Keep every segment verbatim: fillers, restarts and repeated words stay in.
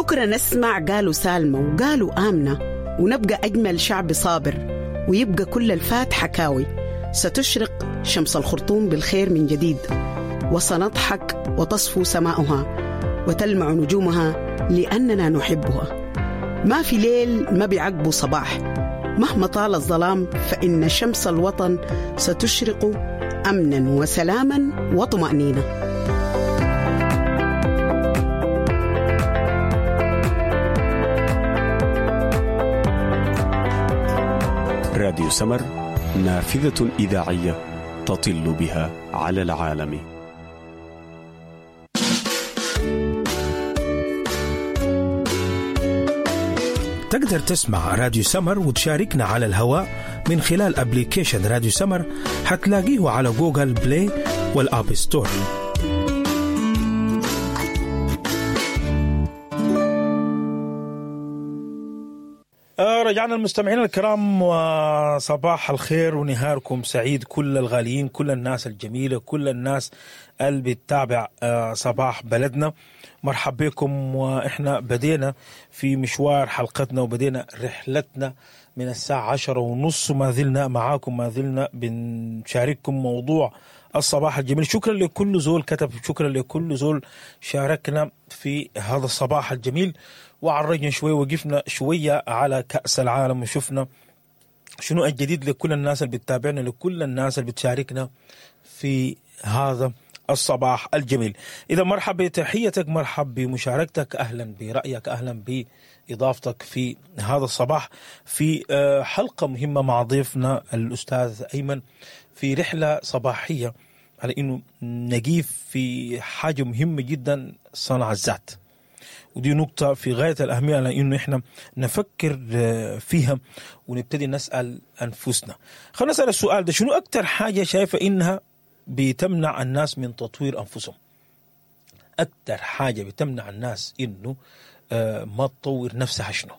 بكرة نسمع قالوا سالمة وقالوا آمنة، ونبقى أجمل شعب صابر، ويبقى كل الفات حكاوي. ستشرق شمس الخرطوم بالخير من جديد، وسنضحك وتصفو سماؤها وتلمع نجومها لأننا نحبها. ما في ليل ما بيعقبه صباح، مهما طال الظلام فإن شمس الوطن ستشرق أمنا وسلاما وطمأنينة. راديو سمر، نافذة إذاعية تطل بها على العالم. تقدر تسمع راديو سمر وتشاركنا على الهواء من خلال application راديو سمر، هتلاقيه على Google Play وال App Store. رجعنا المستمعين الكرام، وصباح الخير ونهاركم سعيد كل الغاليين، كل الناس الجميلة، كل الناس اللي بتتابع صباح بلدنا. مرحب بكم، وإحنا بدينا في مشوار حلقتنا وبدينا رحلتنا من الساعة عشرة ونص، ما زلنا معاكم، ما زلنا بنشارككم موضوع الصباح الجميل. شكرا لكل زول كتب، شكرا لكل زول شاركنا في هذا الصباح الجميل، وعرجنا شوية، وقفنا شوية على كأس العالم وشفنا شنو الجديد لكل الناس اللي بتتابعنا، لكل الناس اللي بتشاركنا في هذا الصباح الجميل. إذا مرحب بتحيتك، مرحب بمشاركتك، أهلا برأيك، أهلا بإضافتك في هذا الصباح في حلقة مهمة مع ضيفنا الأستاذ أيمن في رحلة صباحية على إنه نجيب في حاجة مهمة جدا، صنع الذات. ودي نقطة في غاية الأهمية على إنه إحنا نفكر فيها ونبتدي نسأل أنفسنا. خلينا نسأل السؤال ده، شنو أكتر حاجة شايفة إنها بتمنع الناس من تطوير أنفسهم؟ أكتر حاجة بتمنع الناس إنه ما تطور نفسها شنو؟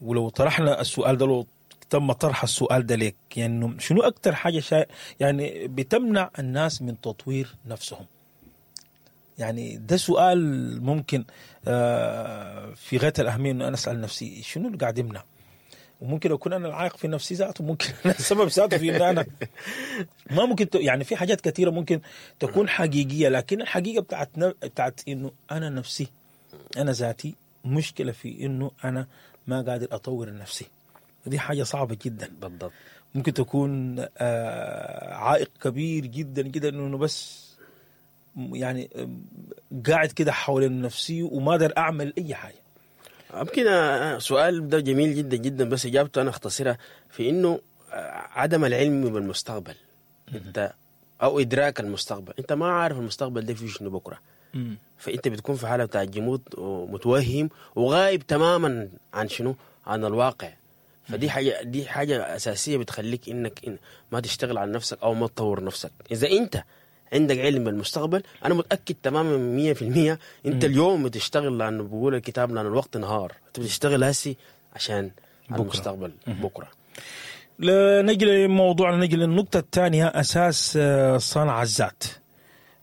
ولو طرحنا السؤال ده، لو تم طرح السؤال ده لك، يعني شنو أكتر حاجة شا... يعني بتمنع الناس من تطوير نفسهم؟ يعني ده سؤال ممكن في غاية الأهمية إنه أنا أسأل نفسي شنو اللي قاعد يمنع، وممكن أكون أنا العائق في نفسي ذاته، ممكن أنا السبب ذاته في إن أنا ما ممكن ت... يعني في حاجات كثيرة ممكن تكون حقيقية، لكن الحقيقة بتاعت بتاعت إنه أنا نفسي، أنا ذاتي مشكلة في إنه أنا ما قادر أطور نفسي، ودي حاجة صعبة جدا. بالضبط، ممكن تكون عائق كبير جدا جدا إنه بس يعني قاعد كده حول نفسي وما أقدر أعمل أي حاجة. يمكن سؤال ده جميل جدا جدا، بس إجابته أنا أختصرها في إنه عدم العلم بالمستقبل، أنت أو إدراك المستقبل، أنت ما عارف المستقبل ده فيه شنو بكرة، فأنت بتكون في حالة بتاع جمود ومتوهم وغايب تماما عن شنو، عن الواقع. فدي حاجة، دي حاجة أساسية بتخليك إنك إن ما تشتغل على نفسك أو ما تطور نفسك. إذا أنت عندك علم بالمستقبل، أنا متأكد تماما مية في المية أنت اليوم بتشتغل، لأنه بقول الكتاب لأن الوقت نهار، أنت بتشتغل هسي عشان بكرة. المستقبل بكرة. نجي لموضوعنا، نجي للنقطة الثانية، أساس صنع الذات.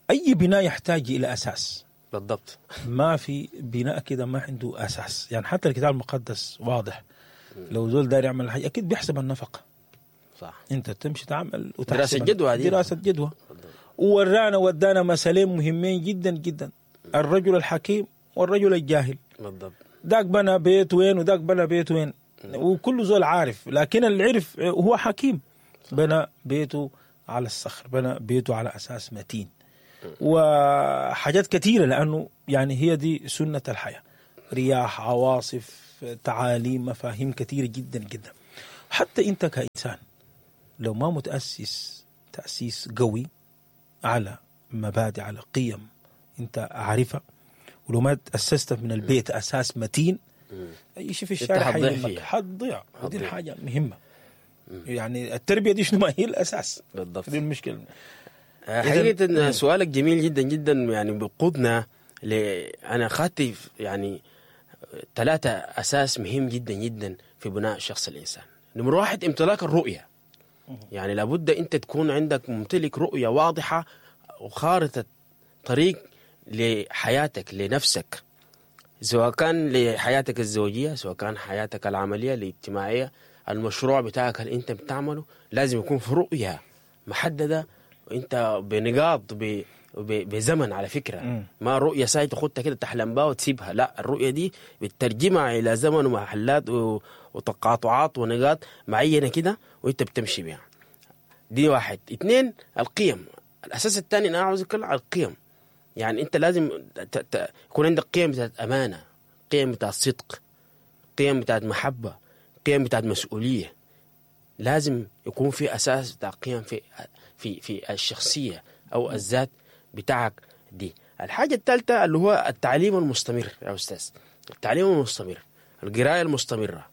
أي بناء يحتاج إلى أساس. بالضبط، ما في بناء كده ما عنده أساس. يعني حتى الكتاب المقدس واضح، لو زول داير يعمل حاجة أكيد بيحسب النفقة. صح، أنت تمشي تعمل وتحسب دراسة جدوى، دراسة جدوى. وورانا ودانا مثلين مهمين جدا جدا، الرجل الحكيم والرجل الجاهل. بالضبط، داك بنى بيت وين وداك بنى بيت وين، وكل زول عارف، لكن اللي عرف هو حكيم، بنى بيته على الصخر، بنى بيته على أساس متين وحاجات كثيرة، لأنه يعني هي دي سنة الحياة، رياح، عواصف، تعاليم، مفاهيم كثيرة جدا جدا. حتى أنت كإنسان لو ما متأسس تأسيس قوي على مبادئ، على قيم أنت عارفها، ولو ما تأسست من البيت أساس متين، أي شيء في الشارع حيهمك، حتضيع. ودي الحاجة مهمة، يعني التربية دي شنو ما هي الأساس. بالضبط، دي المشكلة. حقيقة إن سؤالك جميل جدا جدا، يعني بقودنا ل أنا خدت يعني ثلاثة أساس مهم جدا جدا في بناء شخص الإنسان. نمر واحد، امتلاك الرؤية. يعني لابد أنت تكون عندك ممتلك رؤية واضحة وخارطة طريق لحياتك لنفسك. سواء كان لحياتك الزوجية، سواء كان حياتك العملية الاجتماعية، المشروع بتاعك اللي انت بتعمله لازم يكون في رؤية محددة، وانت بنقاط ب بزمن على فكرة. مم. ما رؤية ساي تاخدها كده تحلم بها وتسيبها، لا، الرؤية دي بتترجمها الى زمن ومحلات و- وتقاطعات ونقاط معينة كده وانت بتمشي بيها. دي واحد. اثنين، القيم. الاساس الثاني انا عاوز اتكلم على القيم. يعني انت لازم ت- ت- يكون عندك قيم بتاعت امانه، قيم بتاعت صدق، قيم بتاعت محبة، قيم بتاعت مسؤولية. لازم يكون في اساس بتاع قيم في في في الشخصية او الذات بتاعك دي. الحاجة الثالثة اللي هو التعليم المستمر يا استاذ، التعليم المستمر، القراية المستمرة،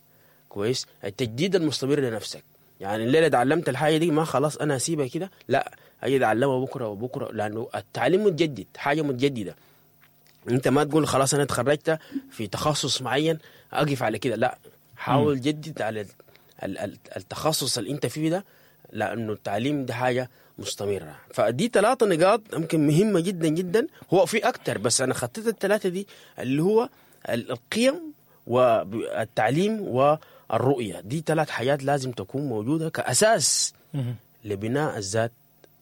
كويس، التجديد المستمر لنفسك. يعني الليلة تعلمت الحاجة دي ما خلاص انا اسيبها كده، لا، اجي اتعلمها بكره وبكره، لانه التعليم متجدد، حاجة متجددة. انت ما تقول خلاص انا اتخرجت في تخصص معين اقف على كده، لا، حاول جدد على ال- ال- ال- التخصص اللي انت فيه ده، لانه التعليم ده حاجة مستمرة. فدي ثلاثة نقاط يمكن مهمة جدا جدا، هو في اكتر بس انا خطيت الثلاثة دي اللي هو ال- القيم والتعليم والرؤية. دي ثلاث حاجات لازم تكون موجودة كاساس لبناء الذات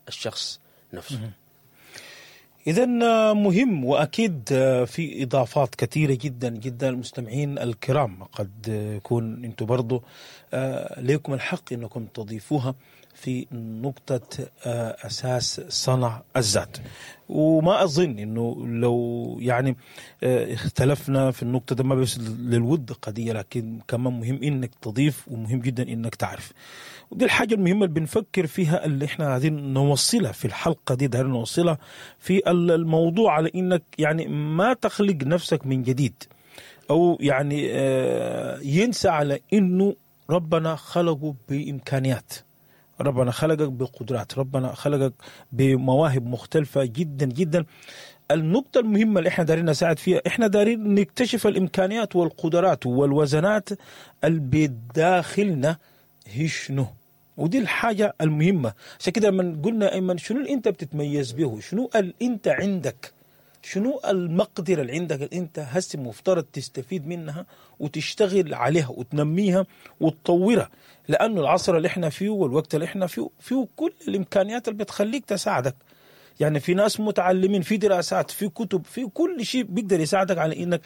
الشخص نفسه. إذا مهم، وأكيد في إضافات كثيرة جدا جدا. المستمعين الكرام قد يكون أنتم برضو آه، ليكم الحق أنكم تضيفوها في نقطة آه، أساس صنع الذات. وما أظن أنه لو يعني آه، اختلفنا في النقطة ده، ما بس للود قضية، لكن كمان مهم أنك تضيف، ومهم جدا أنك تعرف. ودي الحاجة المهمة اللي بنفكر فيها، اللي احنا عايزين نوصلها في الحلقة دي، دايرين نوصلها في الموضوع، على انك يعني ما تخلق نفسك من جديد، او يعني آه، ينسى على انه ربنا خلقه بامكانيات، ربنا خلقك بقدرات، ربنا خلقك بمواهب مختلفة جدا جدا. النقطة المهمة اللي احنا دارين نساعد فيها، احنا دارين نكتشف الامكانيات والقدرات والوزنات اللي بداخلنا هي شنو، ودي الحاجة المهمة. عشان كده لما قلنا ايمن شنو اللي انت بتتميز به، شنو اللي انت عندك، شنو المقدرة اللي عندك اللي انت هسه مفترض تستفيد منها وتشتغل عليها وتنميها وتطورها، لانه العصر اللي احنا فيه والوقت اللي احنا فيه فيه كل الامكانيات اللي بتخليك تساعدك. يعني في ناس متعلمين، في دراسات، في كتب، في كل شيء بيقدر يساعدك على انك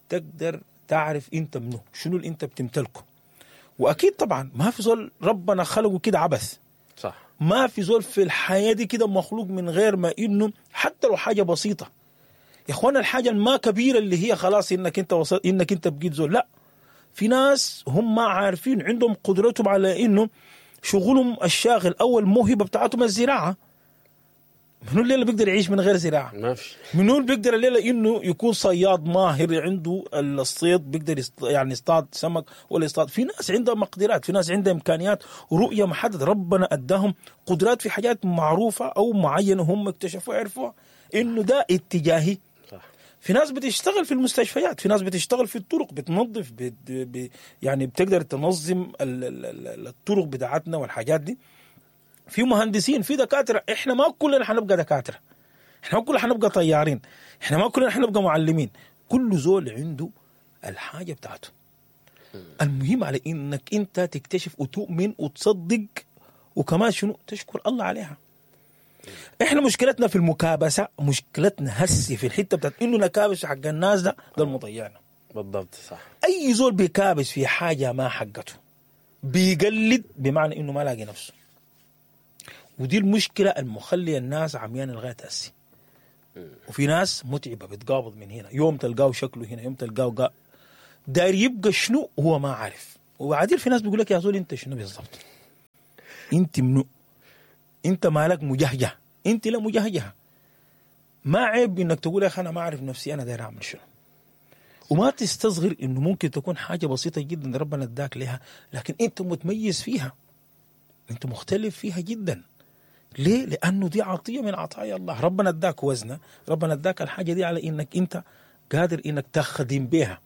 تقدر تعرف انت منه، شنو اللي انت بتمتلكه. واكيد طبعا ما في زول ربنا خلقه كده عبث، صح، ما في زول في الحياة دي كده مخلوق من غير ما انه حتى لو حاجة بسيطة. يا اخوانا الحاجة ما كبيرة اللي هي خلاص انك انت وصل، انك انت بقيت زول، لا، في ناس هم ما عارفين عندهم قدرتهم على انه شغلهم الشاغل او الموهبة بتاعتهم الزراعة. منو الليلة بيقدر يعيش من غير زراعة؟ ما في. منو اللي بيقدر الليلة انه يكون صياد ماهر عنده الصيد، بيقدر يصط... يعني يصطاد سمك ولا يصطاد؟ في ناس عندها مقدرات، في ناس عندها امكانيات ورؤية محددة، ربنا اداهم قدرات في حاجات معروفة او معينة هم اكتشفوها عرفوها انه ده اتجاهي. صح. في ناس بتشتغل في المستشفيات، في ناس بتشتغل في الطرق، بتنظف بت... ب... يعني بتقدر تنظم ال... ال... ال- الطرق بتاعتنا والحاجات دي. في مهندسين، في دكاترة. احنا ما كلنا حنبقى دكاترة، احنا ما كلنا حنبقى طيارين، احنا ما كلنا حنبقى معلمين. كل زول عنده الحاجة بتاعته. المهم على انك انت تكتشف وتؤمن وتصدق، وكمان شنو تشكر الله عليها. احنا مشكلتنا في المكابسه، مشكلتنا هسي في الحتة بتاعت انه نكابس حق الناس، ده ده المضيعنا. بالضبط، صح. اي زول بيكابس في حاجة ما حقته بيقلد، بمعنى انه ما لاقي نفسه. ودي المشكلة المخليه الناس عميان لغاية هسي. وفي ناس متعبة بتقابض من هنا، يوم تلقاه شكله هنا، يوم تلقاه قا داير يبقى شنو هو ما عارف. وبعدين في ناس بيقول لك يا زول انت شنو بالضبط، انت منو، انت مالك مجهجه، انت لا مجهجه. ما عيب انك تقول يا اخي انا ما اعرف نفسي، انا داير اعمل شنو. وما تستصغر انه ممكن تكون حاجة بسيطة جدا ربنا اداك لها، لكن انت متميز فيها، انت مختلف فيها جدا. ليه؟ لانه دي عطية من عطايا الله، ربنا اداك وزنه، ربنا اداك الحاجة دي على انك انت قادر انك تخدم بها.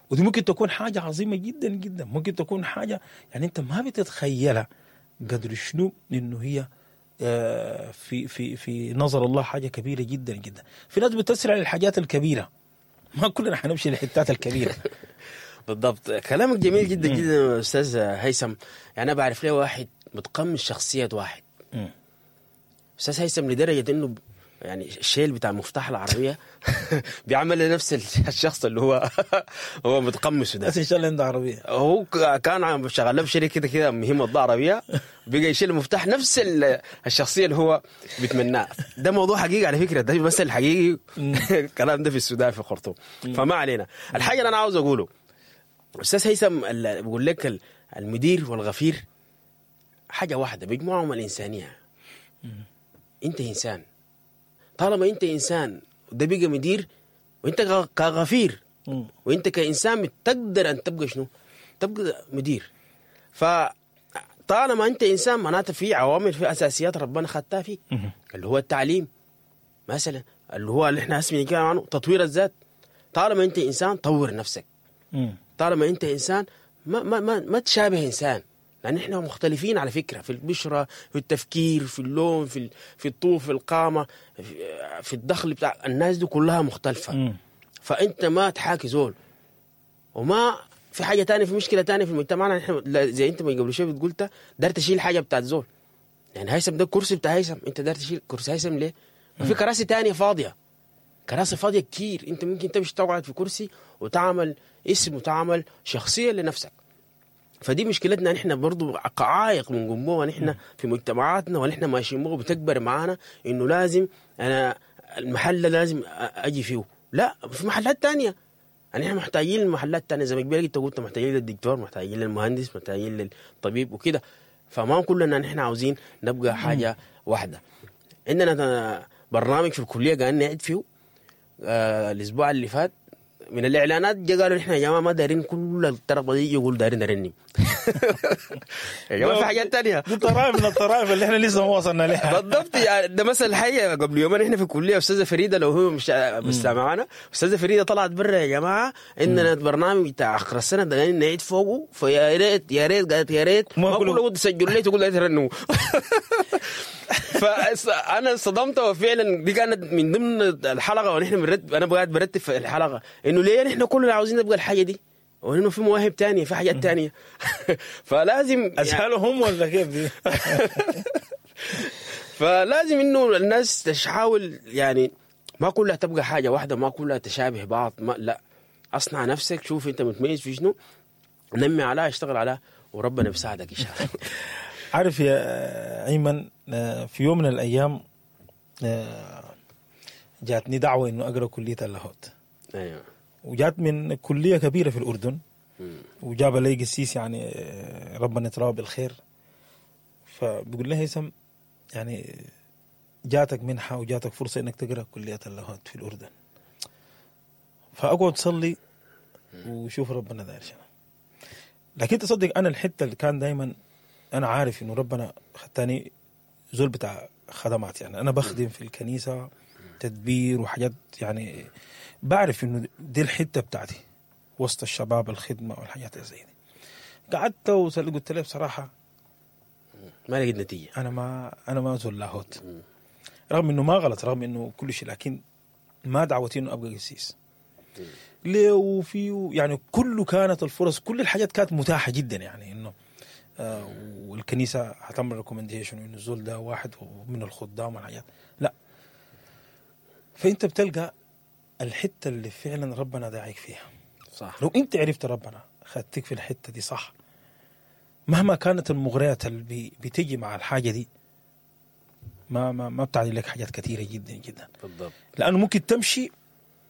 ودي ممكن تكون حاجة عظيمة جدا جدا، ممكن تكون حاجة يعني انت ما بتتخيلها قدر شنو انه هي في في في نظر الله حاجة كبيرة جدا جدا. في ناس بتسرع للحاجات الكبيرة، ما كلنا حنمشي للحتات الكبيرة. بالضبط، كلامك جميل جدا جدا استاذ هيثم. يعني انا بعرف ليه واحد متقمص شخصية واحد استاذ هيثم، لدرجة انه يعني الشيل بتاع مفتاح العربية بيعمل نفس الشخص اللي هو هو متقمصه ده. بس ان شاء الله عنده عربية. هو كان عم شغال له في شركة كده كده مهمة عربية، بقى يشيل المفتاح نفس الشخصية اللي هو بيتمناها. ده موضوع حقيقي على فكرة، ده مثل حقيقي الكلام ده في السودان في الخرطوم. فما علينا. الحاجة اللي انا عاوز اقوله استاذ هيثم، بقول لك المدير والغفير حاجة واحدة بيجمعهم الانسانية. انت انسان، طالما انت انسان وده بقى مدير، وانت كغفير وانت كانسان بتقدر ان تبقى شنو؟ تبقى مدير. فطالما انت انسان معناته في عوامل، في اساسيات ربنا خدتها فيك، اللي هو التعليم مثلا، اللي هو اللي احنا اسمي كده عنه تطوير الذات. طالما انت انسان طور نفسك. طالما انت انسان ما ما ما, ما تشابه انسان، لان احنا مختلفين على فكرة في البشرة، في التفكير، في اللون، في في الطول، في القامة، في الدخل بتاع الناس دي كلها مختلفة. م. فانت ما تحاكي زول. وما في حاجة تانية، في مشكلة تانية في المجتمع، احنا زي انت ما قبل شوية بتقولت دار تشيل حاجة بتاعت زول. يعني هيثم ده الكرسي بتاع هيثم، انت دار تشيل كرسي هيثم ليه؟ ما في كراسي تانية فاضية، كراسي فاضية كتير، انت ممكن تمشي تقعد في كرسي وتعمل اسم وتعمل شخصية لنفسك. فدي مشكلتنا نحن برضو، عائق من جمهور نحن في مجتمعاتنا، ونحن ماشيين بو بتكبر معانا انه لازم انا المحل لازم اجي فيه. لا، في محلات تانية يعني احنا محتاجين المحلات التانية زي ما قبل انت قلت، محتاجين للدكتور، محتاجين للمهندس، محتاجين للطبيب وكده. فما كلنا نحن عاوزين نبقى حاجة واحدة. عندنا برنامج في الكلية قاعدين نعد فيه آه الاسبوع اللي فات، من الاعلانات جا قالوا احنا يا جماعة ما دارين كل الطربه دي، يقول دارين نرنم. يا جماعة في حاجات ثانية، دي طرائف من الطرائف اللي احنا لسه ما وصلنا لها. بالضبط، يعني ده مثل حي. قبل يومين احنا في الكلية استاذه فريدة، لو هو مش مستمعانا، استاذه فريدة طلعت برا يا جماعة عندنا برنامج بتاع اخر السنة ده نعيد فوقه، فيا ريت يا ريت قالت يا ريت ما كله تسجلوا لي تقول لا ترنموا. فانا صدمت، وفعلا دي كانت من ضمن الحلقة ونحن بنرتب، انا قاعد برتب في الحلقة انه ليه نحن كلنا عاوزين نبقى الحاجة دي، وانه في مواهب تانية، في حاجات تانية. فلازم اسهلهم ولا كيف دي؟ فلازم انه الناس تحاول، يعني ما كلها تبقى حاجة واحدة، ما كلها تشابه بعض، ما لا، اصنع نفسك، شوف انت متميز في شنو، نمي عليها، اشتغل عليها، وربنا بيساعدك ان شاء الله. عارف يا ايمن، في يوم من الايام جاتني دعوه انه اقرا كليه اللاهوت. ايوه. وجات من كليه كبيرة في الاردن، وجاب لي قسيس يعني ربنا يتراه بالخير. فبيقول لي هيثم يعني جاتك منحه وجاتك فرصة انك تقرا كليه اللاهوت في الاردن، فاقعد صلي وشوف ربنا داير شنو. لكن تصدق انا الحتة اللي كان دائما انا عارف انه ربنا خدتني زول بتاع خدمات، يعني انا بخدم في الكنيسة تدبير وحاجات، يعني بعرف انه دي الحتة بتاعتي وسط الشباب، الخدمة والحاجات زي دي. قعدت وقلت له بصراحة ما لقيت نتيجة، انا ما انا ما زول لاهوت، رغم انه ما غلط، رغم انه كل شيء، لكن ما دعوتي انه ابقى قسيس. ليه؟ وفي يعني كله كانت الفرص، كل الحاجات كانت متاحة جدا، يعني انه آه والكنيسة هتعمل recommendation انه الزول ده واحد من الخدام والحاجات، لا. فانت بتلقى الحتة اللي فعلا ربنا داعيك فيها، صح. لو انت عرفت ربنا خدتك في الحتة دي صح، مهما كانت المغريات اللي بتيجي مع الحاجة دي ما ما ما بتعني لك حاجات كثيرة جدا جدا. بالضبط، لانه ممكن تمشي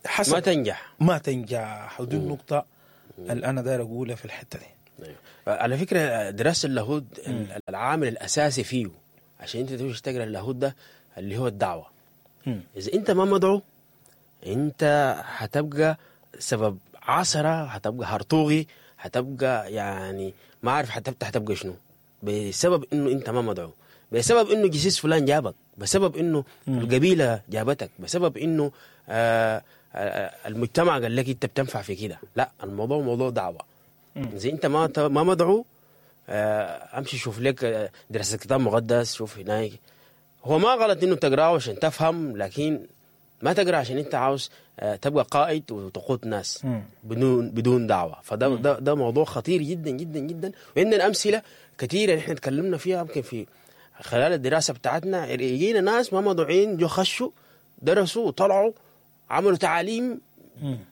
حسب ما تنجح، ما تنجح. ودي النقطة اللي انا داير اقولها في الحتة دي. أيوة. على فكرة دراسة اللاهوت العامل الاساسي فيه عشان انت تمشي تقرا اللاهوت ده اللي هو الدعوة. مم. اذا انت ما مدعو انت هتبقى سبب عثره، هتبقى هرطوغي، هتبقى يعني ما عارف هتبقى هتبقى شنو، بسبب انه انت ما مدعو، بسبب انه جسيس فلان جابك، بسبب انه مم. القبيلة جابتك، بسبب انه آه المجتمع قال لك انت بتنفع في كده. لا، الموضوع موضوع دعوه. زي انت ما ما مدعو، امشي شوف لك دراسة كتاب مقدس، شوف هناك. هو ما غلط انه تقراه عشان تفهم، لكن ما تقرا عشان انت عاوز تبقى قائد وتقود ناس بدون بدون دعوه. فده ده, ده موضوع خطير جدا جدا جدا، وعندنا امثلة كثيرة نحن تكلمنا فيها يمكن في خلال الدراسة بتاعتنا. يجينا ناس ما مدعوين، جو خشوا درسوا وطلعوا عملوا تعاليم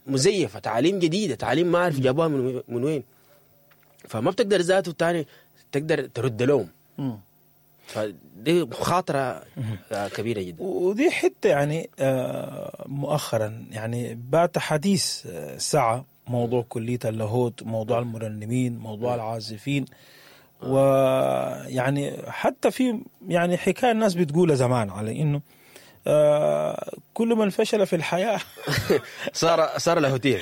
مزيفة، تعاليم جديدة، تعاليم ما اعرف جابوها من من وين. فما بتقدر ذاته تاني تقدر ترد لهم. فدي مخاطرة كبيرة جدا. ودي حتة يعني مؤخرا يعني بات حديث ساعة موضوع كلية اللاهوت، موضوع المرنمين، موضوع العازفين، ويعني حتى في يعني حكاية الناس بتقولها زمان على إنه آه كل من فشل في الحياة صار صار لاهوتيا.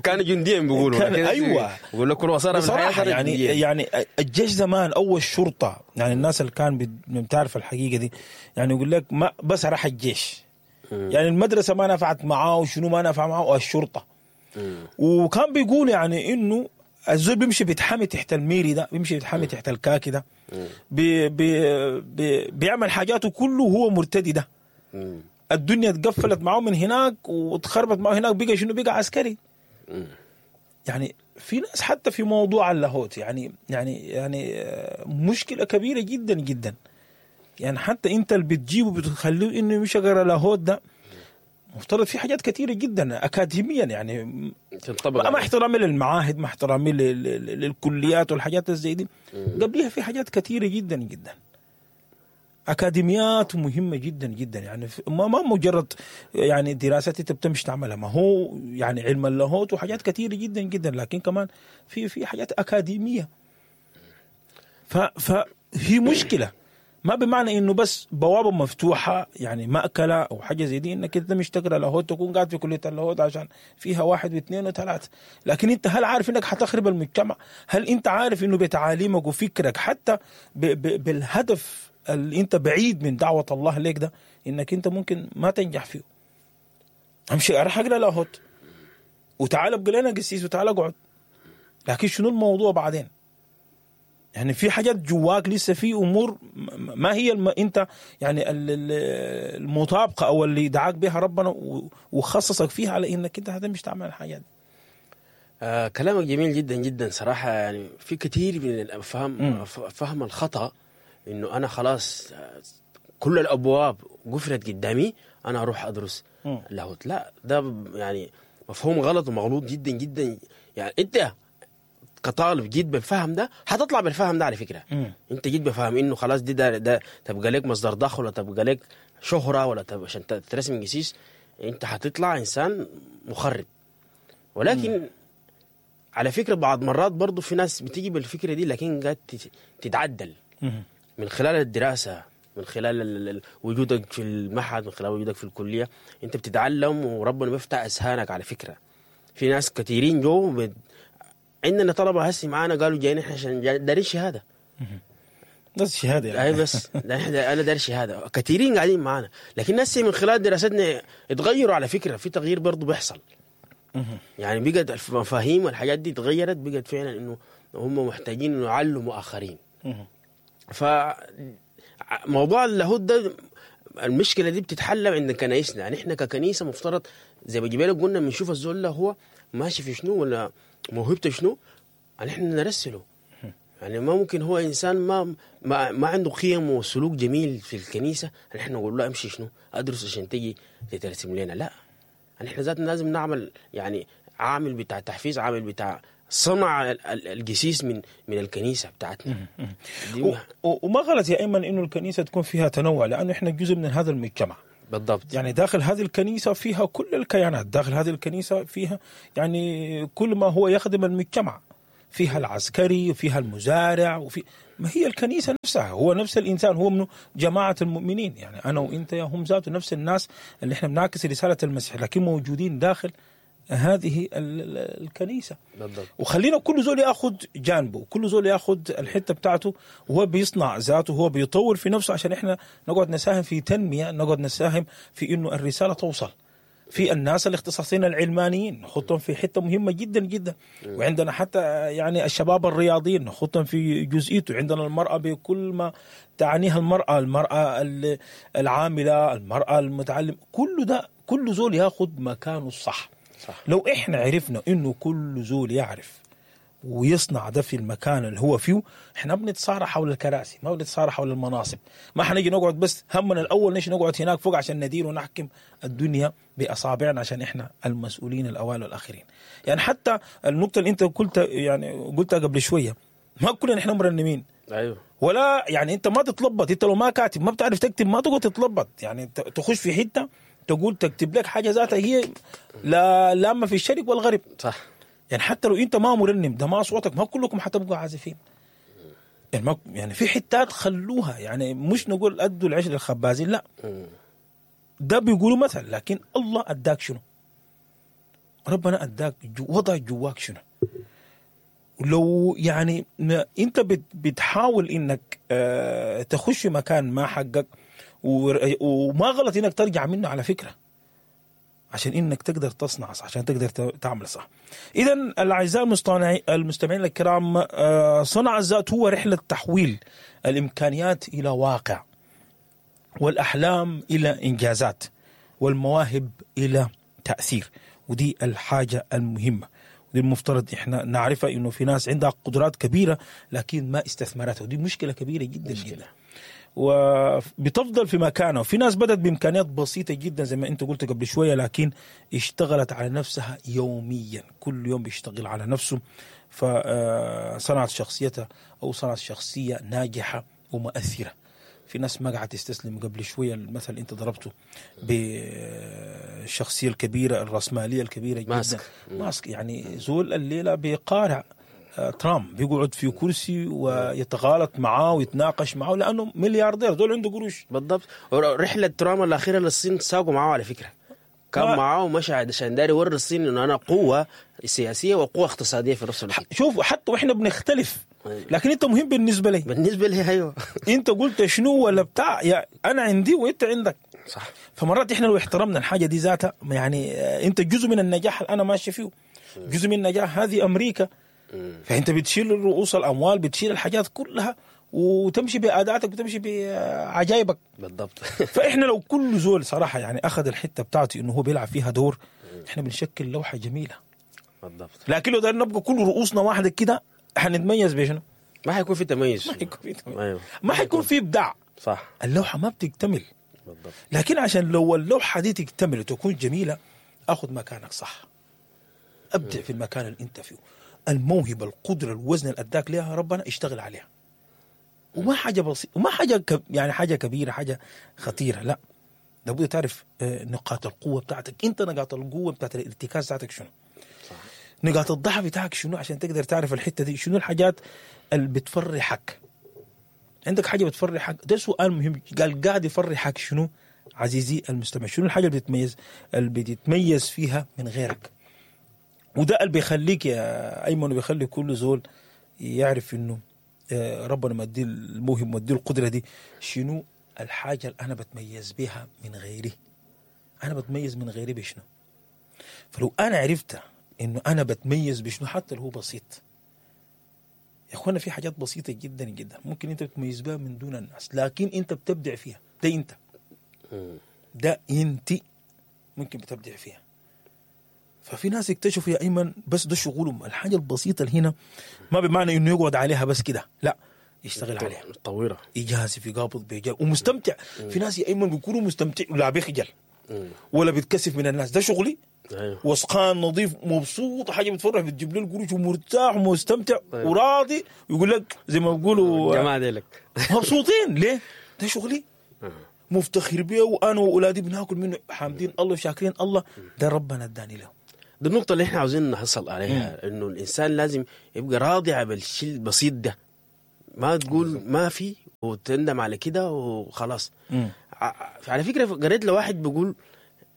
كان جنديا بيقولوا. ايوه بيقول لك كل صار في الحياة يعني يعني الجيش زمان او الشرطة، يعني الناس اللي كان بتعرف الحقيقة دي يعني يقول لك ما بس راح الجيش، يعني المدرسة ما نفعت معاه وشنو ما نفع معاه الشرطة. مم. وكان بيقول يعني انه الزول بيمشي بيتحامي تحت الميري ده، بيمشي بيتحامي تحت الكاكي ده، بي بي بي بيعمل حاجاته كله وهو مرتدي ده. مم. الدنيا اتقفلت معه من هناك وتخربت معه هناك، بقى شنو؟ بقى عسكري. مم. يعني في ناس حتى في موضوع اللاهوت يعني يعني يعني مشكلة كبيرة جدا جدا. يعني حتى انت اللي بتجيبه بتخليه انه مش يقرا لاهوت ده، مفترض في حاجات كثيرة جدا اكاديميا يعني ما احترامي للمعاهد، ما احترامي للكليات والحاجات زي دي، قبليها في حاجات كثيرة جدا جدا أكاديميات مهمة جدا جدا. يعني ما ما مجرد يعني دراسات أنت بتمشي تعملها، ما هو يعني علم اللاهوت وحاجات كثيرة جدا جدا، لكن كمان في في حاجات أكاديمية. فهي مشكلة، ما بمعنى إنه بس بوابة مفتوحة يعني مأكلة أو حاجة زي دي إنك أنت مش تقرأ لاهوت تكون قاعد في كلية اللاهوت عشان فيها واحد واثنين وثلاثة، لكن أنت هل عارف إنك حتخرب المجتمع؟ هل أنت عارف إنه بتعاليمك وفكرك حتى ب ب بالهدف اللي انت بعيد من دعوة الله ليك ده انك انت ممكن ما تنجح فيه؟ امشي اروح اقرا لاهوت وتعال ابقى لنا قسيس وتعال اقعد، لكن شنو الموضوع بعدين؟ يعني في حاجات جواك لسه، في امور ما هي الم... انت يعني المطابقة او اللي دعاك بها ربنا وخصصك فيها على انك انت هتمشي تعمل الحاجات دي. آه كلامك جميل جدا جدا صراحة. يعني في كثير من الافهام فهم الخطأ انه انا خلاص كل الابواب قفلت قدامي انا اروح ادرس لاهوت. لا، ده يعني مفهوم غلط ومغلوط جدا جدا. يعني انت كطالب جيت بالفهم ده هتطلع بالفهم ده على فكرة. مم. انت جيت بفهم انه خلاص دي ده, ده تبقى لك مصدر دخل ولا تبقى لك شهره ولا تبقى عشان ترسم قسيس، انت هتطلع انسان مخرب. ولكن مم. على فكرة بعض مرات برضو في ناس بتيجي بالفكرة دي لكن قاعد تتعدل. مم. من خلال الدراسة، من خلال وجودك في المعهد، من خلال وجودك في الكلية، انت بتتعلم وربنا بيفتح اذهانك. على فكرة في ناس كثيرين جو بت... عندنا طلبة هسي معانا قالوا جايين احنا عشان دارين شهادة. بس شهادة يعني. اي بس انا داري شهادة. كثيرين قاعدين معانا، لكن ناس من خلال دراستنا اتغيروا. على فكرة في تغيير برضو بيحصل. يعني بقت المفاهيم والحاجات دي اتغيرت، بقت فعلا انه هم محتاجين انه يعلموا اخرين. فموضوع اللاهوت ده المشكلة دي بتتحل عند كنايسنا. يعني احنا ككنيسة مفترض زي ما جبالك قلنا بنشوف الزول ده هو ماشي في شنو ولا موهبته شنو، يعني احنا نرسله. يعني ما ممكن هو انسان ما ما, ما عنده قيم وسلوك جميل في الكنيسة يعني احنا نقول له امشي شنو ادرس عشان تجي تترسم لنا. لا، يعني احنا ذاتنا لازم نعمل يعني عامل بتاع تحفيز، عامل بتاع صنع القسيس من من الكنيسة بتاعتنا. وما غلط يا ايمن انه الكنيسة تكون فيها تنوع، لانه احنا جزء من هذا المجتمع. بالضبط. يعني داخل هذه الكنيسة فيها كل الكيانات، داخل هذه الكنيسة فيها يعني كل ما هو يخدم المجتمع، فيها العسكري وفيها المزارع وفي ما هي الكنيسة نفسها، هو نفس الانسان، هو من جماعة المؤمنين. يعني انا وانت يا هم ذاته نفس الناس اللي احنا بنعكس رسالة المسيح، لكن موجودين داخل هذه الكنيسة. بالضبط. وخلينا كل زول ياخذ جانبه، كل زول ياخذ الحتة بتاعته، وهو بيصنع ذاته، وهو بيطور في نفسه، عشان احنا نقعد نساهم في تنمية، نقعد نساهم في انه الرسالة توصل. في الناس الاختصاصيين العلمانيين نحطهم في حتة مهمة جدا جدا، وعندنا حتى يعني الشباب الرياضيين نحطهم في جزئيته، عندنا المرأة بكل ما تعنيها المرأة، المرأة العاملة، المرأة المتعلم، كل ده كل زول ياخد مكانه الصح. صح. لو احنا عرفنا انه كل زول يعرف ويصنع ده في المكان اللي هو فيه، احنا بنتصارع حول الكراسي، ما بنتصارع حول المناصب. ما حنيجي نقعد بس همنا الاول نيجي نقعد هناك فوق عشان ندير ونحكم الدنيا باصابعنا، عشان احنا المسؤولين الاوائل والاخرين. يعني حتى النقطة اللي انت قلت يعني قلتها قبل شوية، ما كلنا احنا مرنمين. ايوه. ولا يعني انت ما تتلبط، انت لو ما كاتب ما بتعرف تكتب ما تقعد تتلبط. يعني تخش في حتة تقول تكتب لك حاجة ذاتها هي لا لاما في الشرق والغرب. صح. يعني حتى لو انت ما مرنم ده ما صوتك، ما كلكم حتبقوا عازفين. يعني ما يعني في حتات خلوها، يعني مش نقول ادوا العيش للخبازين، لا ده بيقولوا مثل، لكن الله اداك شنو؟ ربنا اداك جو وضع جواك شنو؟ لو يعني انت بتحاول انك اه تخش مكان ما حقك، وما غلط انك ترجع منه على فكرة، عشان انك تقدر تصنع صح، عشان تقدر تعمل صح. اذا الاعزاء المستمعين الكرام، صنع الذات هو رحله تحويل الامكانيات الى واقع، والاحلام الى انجازات، والمواهب الى تاثير. ودي الحاجة المهمة، ودي المفترض احنا نعرفها، انه في ناس عندها قدرات كبيرة لكن ما استثمرتها، ودي مشكلة كبيرة جدا مشكلة. جدا، وبتفضل في مكانه. في ناس بدأت بإمكانيات بسيطة جدا زي ما أنت قلت قبل شوية، لكن اشتغلت على نفسها يوميا، كل يوم بيشتغل على نفسه، فصنعت شخصيتها أو صنعت شخصية ناجحة ومؤثرة. في ناس ما قاعدة تستسلم. قبل شوية المثل أنت ضربته بالشخصية الكبيرة الرأسمالية الكبيرة جدا، ماسك, ماسك يعني زول الليلة بيقارع ترامب، بيقعد في كرسي ويتغالط معاه ويتناقش معاه لأنه ملياردير، دول عنده قروش. بالضبط. رحلة ترامب الأخيرة للصين ساقوا معاه على فكرة، كان معاه ومشى عشان داري يوري الصين إنه أنا قوة سياسية وقوة اقتصادية في نفس الوقت. شوف حتى وإحنا بنختلف، لكن أنت مهم بالنسبة لي. بالنسبة لي أيوه. أنت قلت شنو ولا بتاع، يا أنا عندي وأنت عندك. صح. فمرات إحنا لو احترمنا الحاجة دي ذاتها، يعني أنت جزء من النجاح اللي أنا ماشي فيه، جزء من النجاح هذه أمريكا. فانت بتشيل رؤوس الاموال، بتشيل الحاجات كلها وتمشي باداتك وتمشي بعجايبك. بالضبط. فاحنا لو كل زول صراحة يعني اخذ الحتة بتاعته انه هو بيلعب فيها دور، احنا بنشكل لوحة جميلة. بالضبط. لكن لو دايرين نبقى كل رؤوسنا واحدة كده حنتميز بشنو؟ ما حيكون في تميز، ما حيكون في تميز. أيوه. ما حيكون في ابداع. صح. اللوحة ما بتكتمل. بالضبط. لكن عشان لو اللوحة دي تكتمل وتكون جميلة، اخذ مكانك صح، ابدع في المكان اللي انت فيه، الموهبة، القدرة، الوزن اللي أداك لها ربنا اشتغل عليها. وما حاجة بسيطة، وما حاجة كب... يعني حاجة كبيرة، حاجة خطيرة، لا. لابد تعرف نقاط القوة بتاعتك انت، نقاط القوة بتاعت الارتكاز بتاعتك شنو، صح. نقاط الضعف بتاعك شنو، عشان تقدر تعرف الحتة دي شنو، الحاجات اللي بتفرحك. عندك حاجة بتفرحك؟ ده سؤال مهم. قال قاعد يفرحك شنو عزيزي المستمع؟ شنو الحاجة اللي بتتميز اللي بتتميز فيها من غيرك؟ وده اللي بيخليك يا أيمن، وبيخلي كل زول يعرف إنه ربنا مدي الموهبة، مدي القدرة دي. شنو الحاجة اللي أنا بتميز بها من غيري؟ أنا بتميز من غيري بشنو؟ فلو أنا عرفت إنه أنا بتميز بشنو حتى لو هو بسيط، يا أخوانا في حاجات بسيطة جدا جدا ممكن أنت بتميز بها من دون الناس، لكن أنت بتبدع فيها. ده أنت، ده أنت ممكن بتبدع فيها. ففي ناس اكتشفوا يا أيمن بس ده شغلهم، الحاجة البسيطة اللي هنا ما بمعنى إنه يقعد عليها بس كده، لا يشتغل عليها، طويرة، إجازة في قابض بيجاب ومستمتع. في ناس يا أيمن بيكونوا مستمتع ولا بيخجل ولا بيتكسف من الناس، ده شغلي. أيوه. وسقان نظيف مبسوط، حاجة بتفرح، بتجيب له القروش ومرتاح ومستمتع. أيوه. وراضي، ويقول لك زي ما بيقولوا جماعة ديلك مبسوطين. ليه؟ ده شغلي مفتخر بيه، وأنا وأولادي بناكل منه، حامدين الله وشاكرين الله، ده ربنا اداني له. دي النقطة اللي احنا عاوزين نحصل عليها، انه الانسان لازم يبقى راضي على الشيء البسيط ده، ما تقول ما في وتندم على كده وخلاص. على فكرة قريت لواحد بيقول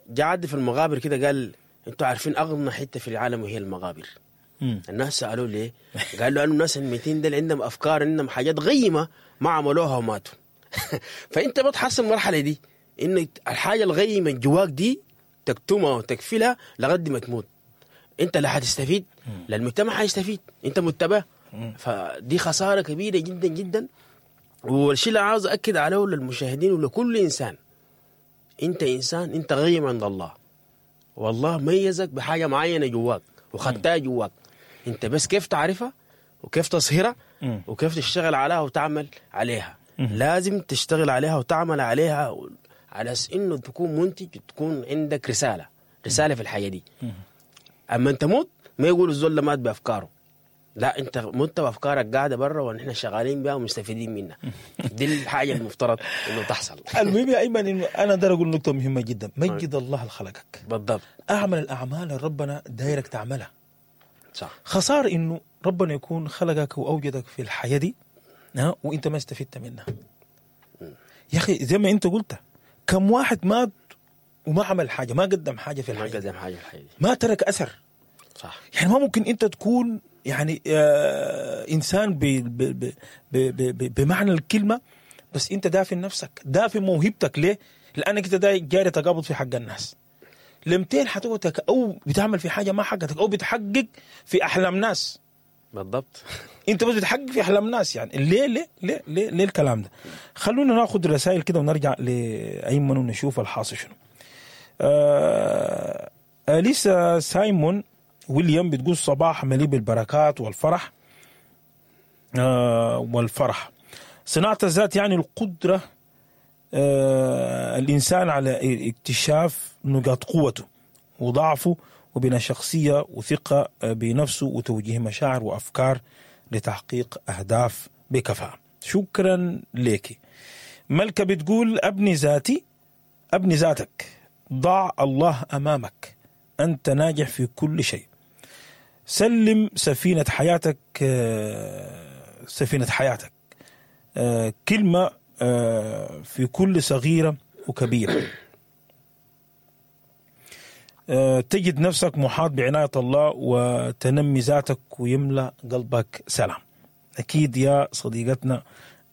جاء في المقابر كده، قال انتوا عارفين اغنى حتة في العالم وهي المقابر. مم. الناس سألوه ليه؟ قالوا قالوا الناس الميتين دول عندهم افكار، عندهم حاجات غيمة ما عملوها وماتوا. فانت بتحصل المرحلة دي، ان الحاجة الغيمة جواك دي تكتمها وتكفلها لغد ما تموت. انت لا حتستفيد، لا المجتمع حيستفيد، انت متبع. فدي خسارة كبيرة جدا جدا. والشيء اللي عاوز أكد عليه للمشاهدين ولكل إنسان، انت إنسان، انت غيم عند الله. والله ميزك بحاجة معينة جواك وخدتها جواك، انت بس كيف تعرفها وكيف تصهرها وكيف تشتغل عليها وتعمل عليها. مم. لازم تشتغل عليها وتعمل عليها على انه تكون منتج، تكون عندك رسالة، رسالة في الحياة دي. مم. اما انت موت ما يقولوا الزول مات بافكاره، لا انت مت بافكارك قاعدة برا ونحن شغالين بها ومستفيدين منها. دي الحاجة المفترض انه تحصل. المهم يا ايمن انه انا داير اقول نقطة مهمة جدا، مجد الله اللي خلقك. بالضبط. اعمل الاعمال اللي ربنا دايرك تعملها. صح. خسارة انه ربنا يكون خلقك واوجدك في الحياة دي وانت ما استفدت منها. يا اخي زي ما انت قلت، كم واحد مات وما عمل حاجة، ما قدم حاجة في الحياة، ما قدم حاجة في الحياة، ما ترك اثر. صح. يعني ما ممكن انت تكون يعني آه انسان ب ب ب ب بمعنى الكلمة، بس انت دافن نفسك، دافن موهبتك. ليه؟ لانك انت جاري تقابض في حق الناس. لمتين حتقعد او بتعمل في حاجة ما حقتك، او بتحقق في احلام ناس. بالضبط. انت بس بتحقق في احلام ناس. يعني ليه ليه ليه ليه, ليه الكلام ده؟ خلونا ناخذ رسائل كده ونرجع لايمن ونشوف الحاصل شنو. آه اليسا سايمون ويليام بتقول صباح مليء بالبركات والفرح. آه والفرح. صناعة الذات يعني القدرة آه الإنسان على اكتشاف نقاط قوته وضعفه وبناء شخصية وثقة بنفسه وتوجيه مشاعر وأفكار لتحقيق أهداف بكفاءة. شكرا لك. ملكة بتقول أبني ذاتي، أبني ذاتك، ضع الله أمامك، أنت ناجح في كل شيء. سلم سفينة حياتك، سفينة حياتك كلمة في كل صغيرة وكبيرة. تجد نفسك محاط بعناية الله وتنمي ذاتك ويملأ قلبك سلام. أكيد يا صديقتنا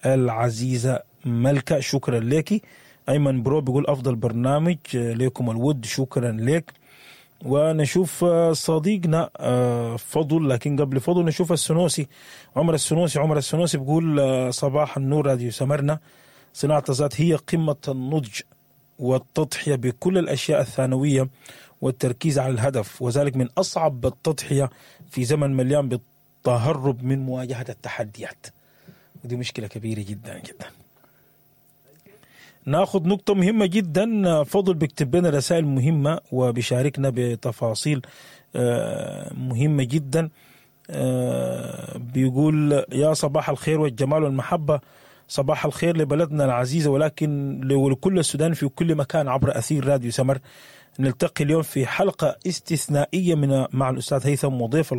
العزيزة ملكة، شكرا لك. أيمن برو بيقول أفضل برنامج لكم الود، شكرا لك. ونشوف صديقنا فضل، لكن قبل فضل نشوف السنوسي، عمر السنوسي. عمر السنوسي بيقول صباح النور راديو سمرنا، صناعة الذات هي قمة النضج والتضحية بكل الأشياء الثانوية والتركيز على الهدف، وذلك من أصعب التضحية في زمن مليان بالتهرب من مواجهة التحديات، ودي مشكلة كبيرة جدا جدا. ناخذ نقطة مهمة جدا، فضل بيكتب لنا رسائل مهمة وبيشاركنا بتفاصيل مهمة جدا. بيقول يا صباح الخير والجمال والمحبة، صباح الخير لبلدنا العزيزة ولكن لكل السودان في كل مكان عبر أثير راديو سمر. نلتقي اليوم في حلقة استثنائية من مع الأستاذ هيثم وضيف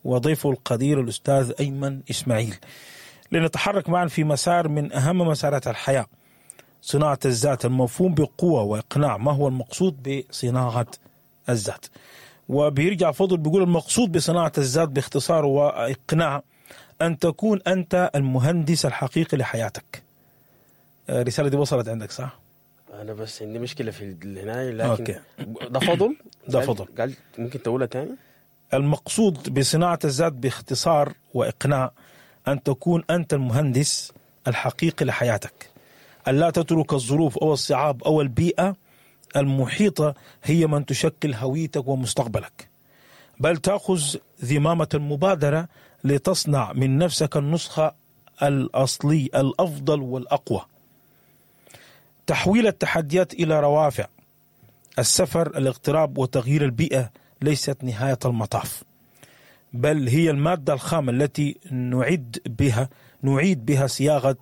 وضيفه القدير الأستاذ أيمن إسماعيل، لنتحرك معا في مسار من أهم مسارات الحياة، صناعة الذات، المفهوم بقوة وإقناع. ما هو المقصود بصناعة الذات؟ وبيرجع فضل بيقول المقصود بصناعة الذات باختصار وإقناع أن تكون أنت المهندس الحقيقي لحياتك. الرسالة دي وصلت عندك صح؟ أنا بس عندي مشكلة في هنا، لكن ده فضل ده فضل قال ممكن تقولها تاني؟ المقصود بصناعة الذات باختصار وإقناع أن تكون أنت المهندس الحقيقي لحياتك، ألا تترك الظروف أو الصعاب أو البيئة المحيطة هي من تشكل هويتك ومستقبلك، بل تأخذ ذمامة المبادرة لتصنع من نفسك النسخة الأصلي الأفضل والأقوى. تحويل التحديات إلى روافع، السفر، الاغتراب وتغيير البيئة ليست نهاية المطاف، بل هي المادة الخام التي نعد بها نعيد بها صياغة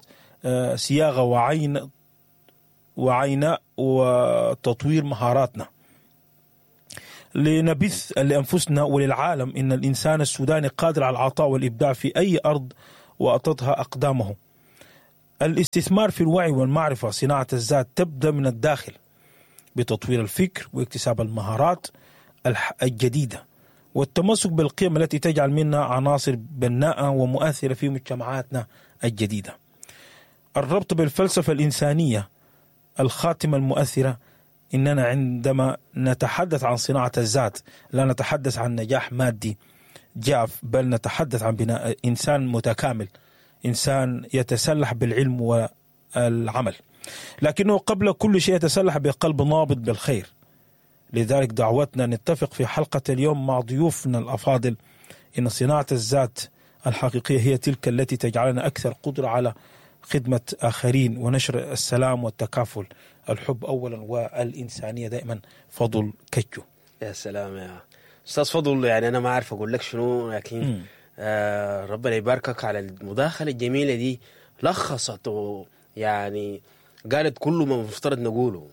صياغة وعين وعيناء وتطوير مهاراتنا لنبث لأنفسنا وللعالم إن الإنسان السوداني قادر على العطاء والإبداع في أي أرض وأطتها أقدامه. الاستثمار في الوعي والمعرفة، صناعة الذات تبدأ من الداخل بتطوير الفكر واكتساب المهارات الجديدة والتمسك بالقيم التي تجعل منا عناصر بناءة ومؤثرة في مجتمعاتنا الجديدة. الربط بالفلسفة الإنسانية الخاتمة المؤثرة، إننا عندما نتحدث عن صناعة الذات لا نتحدث عن نجاح مادي جاف، بل نتحدث عن بناء إنسان متكامل، إنسان يتسلح بالعلم والعمل، لكنه قبل كل شيء يتسلح بقلب نابض بالخير. لذلك دعوتنا نتفق في حلقة اليوم مع ضيوفنا الأفاضل إن صناعة الذات الحقيقية هي تلك التي تجعلنا أكثر قدرة على خدمة آخرين ونشر السلام والتكافل، الحب أولا والإنسانية دائما. فضل كجو. يا سلام يا أستاذ فضل، يعني أنا ما أعرف أقول لك شنو، لكن آه ربنا يباركك على المداخلة الجميلة دي. لخصت يعني قالت كل ما مفترض نقوله،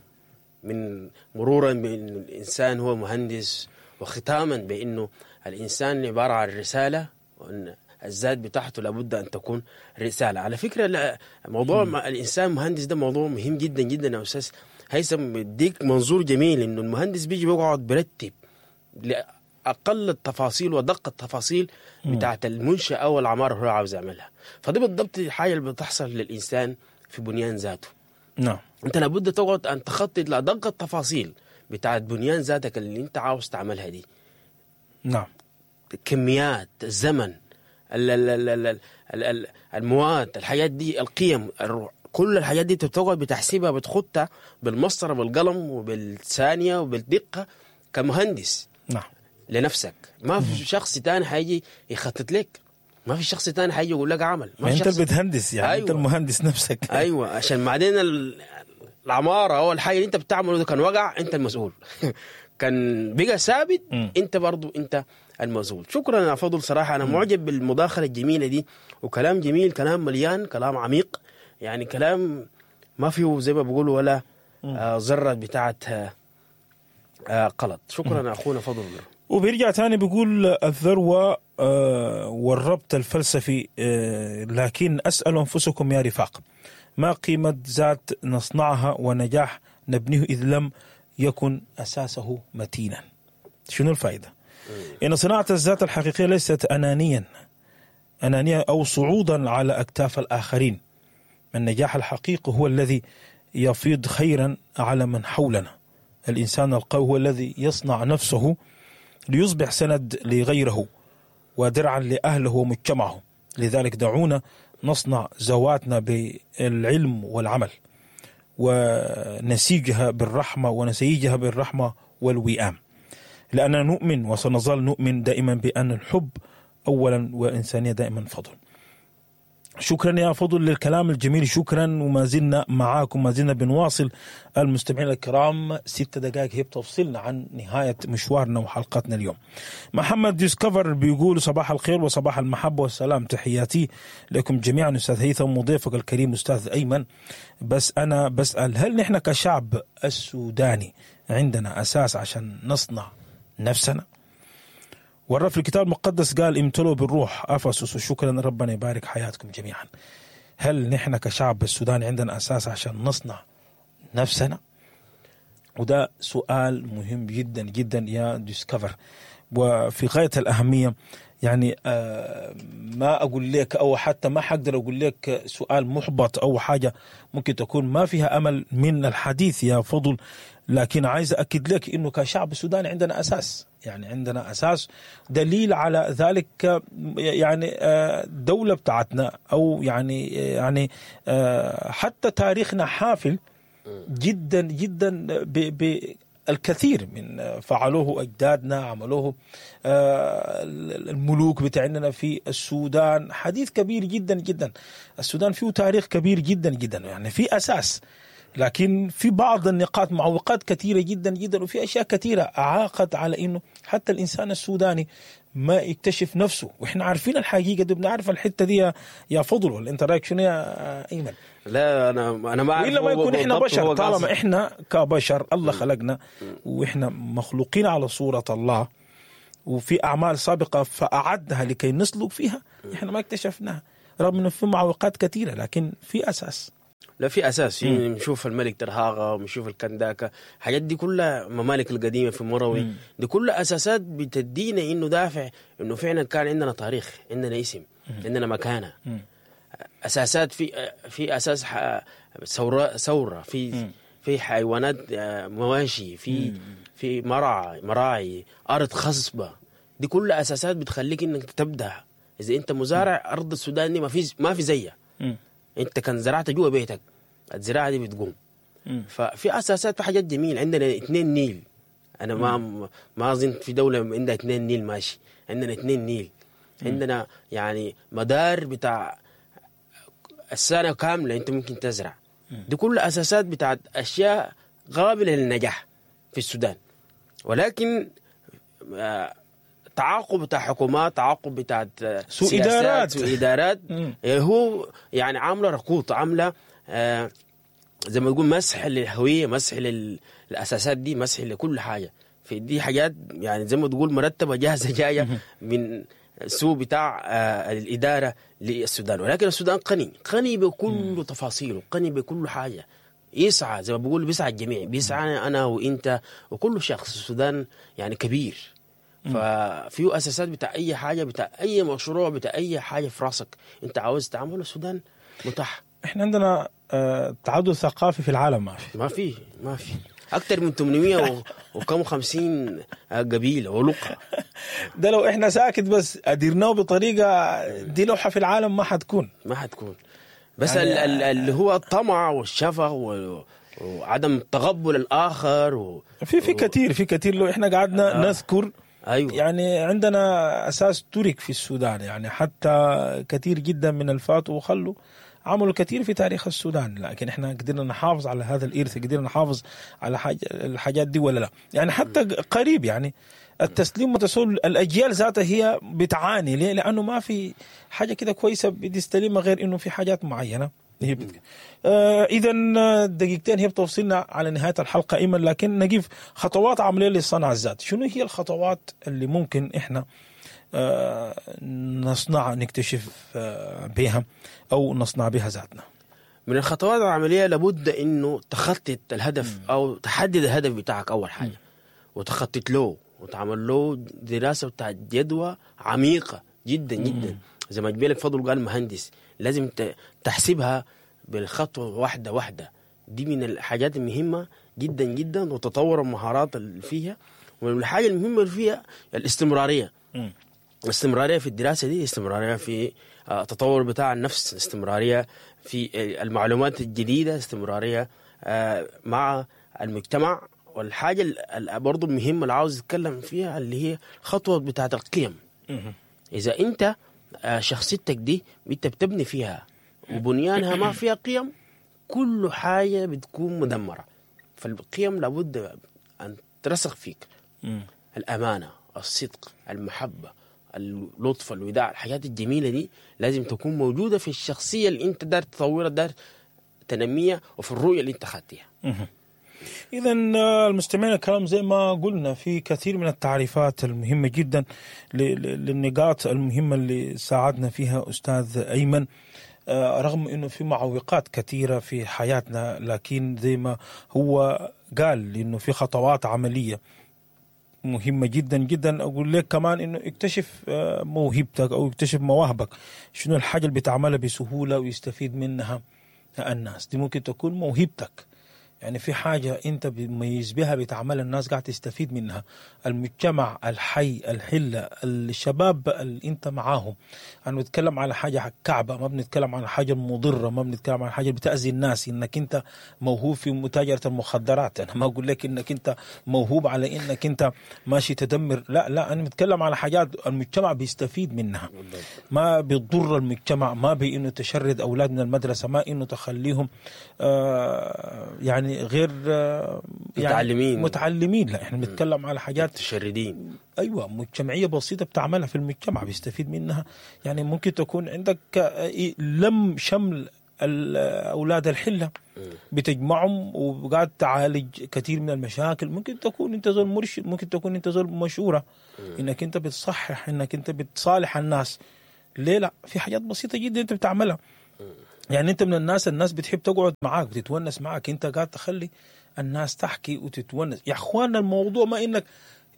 من مرورا بأن الإنسان هو مهندس، وختاما بأنه الإنسان عبارة عن رسالة، وأن الذات بتاعته لابد أن تكون رسالة. على فكرة لا، موضوع م. الإنسان مهندس ده موضوع مهم جدا جدا يا أستاذ هيثم، بيديك منظور جميل إنه المهندس بيجي بيقعد برتب لأقل التفاصيل ودق التفاصيل بتاعت المنشأة أو العمارة اللي هو عاوز يعملها. فدي بالضبط الحاجة اللي بتحصل للإنسان في بنيان ذاته. نعم، أنت لابد تقعد أن تخطط لأدق التفاصيل بتاعت بنيان ذاتك اللي أنت عاوز تعملها دي. نعم، كميات، الزمن، ال ال ال ال ال ال المواد، الحاجات دي، القيم، الروح، كل الحاجات دي بتقعد بتحسبها، بتخطها بالمسطره بالقلم وبالثانيه وبالدقه كمهندس. نعم، لنفسك. ما في شخص تاني حيجي يخطط لك، ما في شخص تاني حيجي يقول لك عمل. ما انت بتهندس يعني. أيوة. انت المهندس نفسك. ايوه، عشان بعدين العمارة او الحاجة اللي انت بتعمله ده كان وقع انت المسؤول، كان بقى ثابت انت برضو انت المسؤول. شكرا يا فضل، صراحة انا معجب بالمداخله الجميلة دي، وكلام جميل، كلام مليان، كلام عميق، يعني كلام ما فيه زي ما بيقولوا ولا آه ذره بتاعت آه قلط. شكرا اخونا فضل. وبيرجع تاني بيقول الذروة آه والربط الفلسفي، آه لكن أسأل أنفسكم يا رفاق، ما قيمة ذات نصنعها ونجاح نبنيه إذ لم يكن أساسه متينا؟ شنو الفائدة؟ إن صناعة الذات الحقيقية ليست أنانيا أنانية أو صعودا على أكتاف الآخرين. النجاح الحقيقي هو الذي يفيض خيرا على من حولنا. الإنسان القوي هو الذي يصنع نفسه ليصبح سند لغيره ودرعا لأهله ومجتمعه. لذلك دعونا نصنع ذواتنا بالعلم والعمل، ونسيجها بالرحمة ونسيجها بالرحمة والوئام، لأننا نؤمن وسنظل نؤمن دائما بأن الحب أولا والإنسانية دائما فضل. شكرا يا فضل للكلام الجميل، شكرا. وما زلنا معاكم، ما زلنا بنواصل المستمعين الكرام. ست دقائق هي بتفصلنا عن نهاية مشوارنا وحلقتنا اليوم. محمد ديسكفر بيقول صباح الخير وصباح المحبة والسلام، تحياتي لكم جميعا أستاذ هيثم وضيفك الكريم أستاذ أيمن. بس أنا بسأل، هل نحن كشعب السوداني عندنا أساس عشان نصنع نفسنا؟ والرب في الكتاب المقدس قال امتلوا بالروح أفسس. وشكرا، ربنا يبارك حياتكم جميعا. هل نحن كشعب السوداني عندنا أساس عشان نصنع نفسنا؟ وده سؤال مهم جدا جدا يا ديسكفر، وفي غاية الأهمية. يعني ما أقول لك أو حتى ما حقدر أقول لك سؤال محبط أو حاجة ممكن تكون ما فيها أمل من الحديث يا فضل، لكن عايز أكد لك إنه كشعب السوداني عندنا أساس، يعني عندنا أساس. دليل على ذلك يعني الدولة بتاعتنا، أو يعني يعني حتى تاريخنا حافل جدا جدا بالكثير من فعلوه أجدادنا، عملوه الملوك بتاعنا في السودان. حديث كبير جدا جدا، السودان فيه تاريخ كبير جدا جدا، يعني في أساس. لكن في بعض النقاط معوقات كثيرة جدا جدا، وفي أشياء كثيرة أعاقت على إنه حتى الإنسان السوداني ما يكتشف نفسه. وإحنا عارفين الحقيقة دي، بنعرف الحتة دي يا فضل. ولا أنت رأيك شنو يا أيمن؟ لا أنا أنا ما أعرف. إلا ما يكون إحنا بشر، طالما إحنا كبشر الله خلقنا وإحنا مخلوقين على صورة الله، وفي أعمال سابقة فأعدها لكي نسلك فيها، إحنا ما اكتشفناها رغم إنه في معوقات كثيرة، لكن في أساس. لا في أساس. نشوف الملك ترهاغا ونشوف الكنداكا، الحاجات دي كلها ممالك القديمة في مروي، دي كلها أساسات بتدينا إنه دافع إنه فعلا كان عندنا تاريخ، عندنا اسم، عندنا مكانة. مم. أساسات في في أساس ثورة ثورة في في حيوانات مواشي، في في مراعي مراعي أرض خصبة. دي كلها أساسات بتخليك إنك تبدأ. إذا أنت مزارع، أرض السودان دي ما في ما في زيها. انت كان زرعت جوا بيتك الزراعة دي بتقوم. مم. ففي اساسات، في حاجات جميلة. عندنا اثنين نيل، انا ما ما اظن في دولة عندها اثنين نيل ماشي، عندنا اثنين نيل، عندنا يعني مدار بتاع السنة كاملة انت ممكن تزرع. دي كل اساسات بتاعت اشياء قابله للنجاح في السودان، ولكن تعاقب بتاع حكومات، تعاقب بتاع سوء ادارات، سوء ادارات هو يعني عامله ركوط، عامله آه زي ما تقول مسح للهوية، مسح للاساسات دي، مسح لكل حاجة. في دي حاجات يعني زي ما تقول مرتبه جاهزة جاية من سوء بتاع آه الادارة للسودان. ولكن السودان قني، قني بكل تفاصيله، قني بكل حاجة. يسعى زي ما بقول بيسعى الجميع، بيسعى انا وانت وكل شخص. السودان يعني كبير، ففيه اساسات بتاع اي حاجة، بتاع اي مشروع، بتاع اي حاجة في راسك انت عاوز تعمله السودان متاح. احنا عندنا آه تعدد ثقافي في العالم ما في، ما في ما في اكثر من ثمانمية وكم خمسين قبيلة ولقه. ده لو احنا ساكت بس اديرناه بطريقة دي لوحة في العالم ما حتكون، ما حتكون. بس يعني اللي هو الطمع والشفق وعدم تقبل الاخر و... في في كثير، في كثير لو احنا قعدنا آه. نذكر. أيوة. يعني عندنا اساس ترك في السودان، يعني حتى كثير جدا من الفات وخلوا عملوا كثير في تاريخ السودان، لكن احنا قدرنا نحافظ على هذا الارث، قدرنا نحافظ على حاجة الحاجات دي ولا لا؟ يعني حتى قريب يعني التسليم وتسول الاجيال ذاتها هي بتعاني. ليه؟ لانه ما في حاجة كده كويسة بتستلمها غير انه في حاجات معينة هي بت... آه اذا دقيقتين هي بتوصلنا على نهاية الحلقة ايمن، لكن نجيب خطوات عملية لصنع الذات. شنو هي الخطوات اللي ممكن احنا آه نصنع، نكتشف آه بها او نصنع بها ذاتنا؟ من الخطوات العملية لابد انه تخطط الهدف او تحدد الهدف بتاعك اول حاجة، وتخطط له وتعمل له دراسة بتاع جدوى عميقة جدا جدا. زي ما جبالك فضل قال مهندس، لازم تحسبها بالخطوه واحدة واحدة. دي من الحاجات المهمة جدا جدا، وتطور المهارات اللي فيها. والحاجة المهمة اللي فيها الاستمرارية. مم. الاستمرارية في الدراسة دي، استمرارية في التطور بتاع النفس، استمرارية في المعلومات الجديدة، استمرارية مع المجتمع. والحاجة برضو المهمة اللي عاوز اتكلم فيها اللي هي خطوة بتاعه القيم. اذا انت شخصيتك دي انت بتبني فيها وبنيانها ما فيها قيم، كل حاجة بتكون مدمرة. فالقيم لابد ان ترسخ فيك. الامانة، الصدق، المحبة، اللطف، الوداع، الحاجات الجميلة دي لازم تكون موجودة في الشخصية اللي انت دار تطورها، دار تنمية، وفي الرؤية اللي انت خدتها. إذا المستمعين الكرام زي ما قلنا في كثير من التعريفات المهمة جدا للنقاط المهمة اللي ساعدنا فيها أستاذ أيمن، رغم أنه في معوقات كثيرة في حياتنا، لكن زي ما هو قال أنه في خطوات عملية مهمة جدا جدا. أقول لك كمان أنه اكتشف موهبتك أو اكتشف مواهبك، شنو الحاجة اللي بتعملها بسهولة ويستفيد منها الناس، دي ممكن تكون موهبتك. يعني في حاجة أنت بتميز بها بتعملها الناس قاعد تستفيد منها، المجتمع، الحي، الحلة، الشباب اللي أنت معاهم. أنا بنتكلم على حاجة كعبة، ما بنتكلم على حاجة مضرة، ما بنتكلم على حاجة بتأذي الناس. إنك أنت موهوب في متاجرة المخدرات، أنا ما أقول لك إنك أنت موهوب على إنك أنت ماشي تدمر، لا لا، أنا بتكلم على حاجات المجتمع بيستفيد منها، ما بيضر المجتمع، ما بإنه تشرد أولاد من المدرسة، ما إنه تخليهم آه يعني غير يعني متعلمين متعلمين. لا، احنا بنتكلم على حاجات متشردين، ايوه، مجتمعية بسيطة بتعملها في المجتمع بيستفيد منها. يعني ممكن تكون عندك لم شمل اولاد الحلة بتجمعهم وقاعد تعالج كثير من المشاكل. ممكن تكون انت زول مرشد، ممكن تكون انت زول مشورة، انك انت بتصحح، انك انت بتصالح الناس. ليه لا؟ في حاجات بسيطة جدا انت بتعملها. يعني انت من الناس، الناس بتحب تقعد معاك، بتتونس معاك، انت قاعد تخلي الناس تحكي وتتونس. يا اخوانا الموضوع ما انك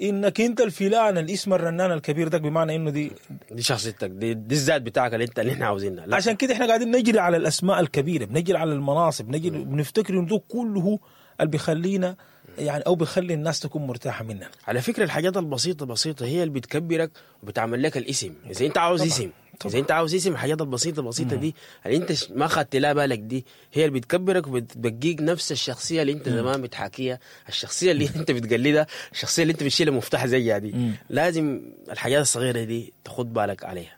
انك انت الفلان الاسم الرنان الكبير ده، بمعنى انه دي دي شخصيتك، دي, دي الذات بتاعك اللي انت اللي احنا عاوزينها. عشان كده احنا قاعدين نجري على الاسماء الكبيرة، بنجري على المناصب، بنجري بنفتكر انه ده كله اللي بيخلينا يعني او بيخلي الناس تكون مرتاحة مننا. على فكرة الحاجات البسيطة بسيطة هي اللي بتكبرك وبتعمل لك الاسم. اذا انت عاوز طبعا. اسم طبعا. اذا انت عاوز اسم الحاجات البسيطة البسيطة دي اللي انت ش- ما خدت لها بالك دي هي اللي بتكبرك وبتبقيك نفس الشخصية اللي انت زمان بتحاكيها، الشخصية اللي انت بتقلدها، الشخصية اللي انت بتشيل المفتاح زيها دي. مم. لازم الحاجات الصغيرة دي تاخد بالك عليها.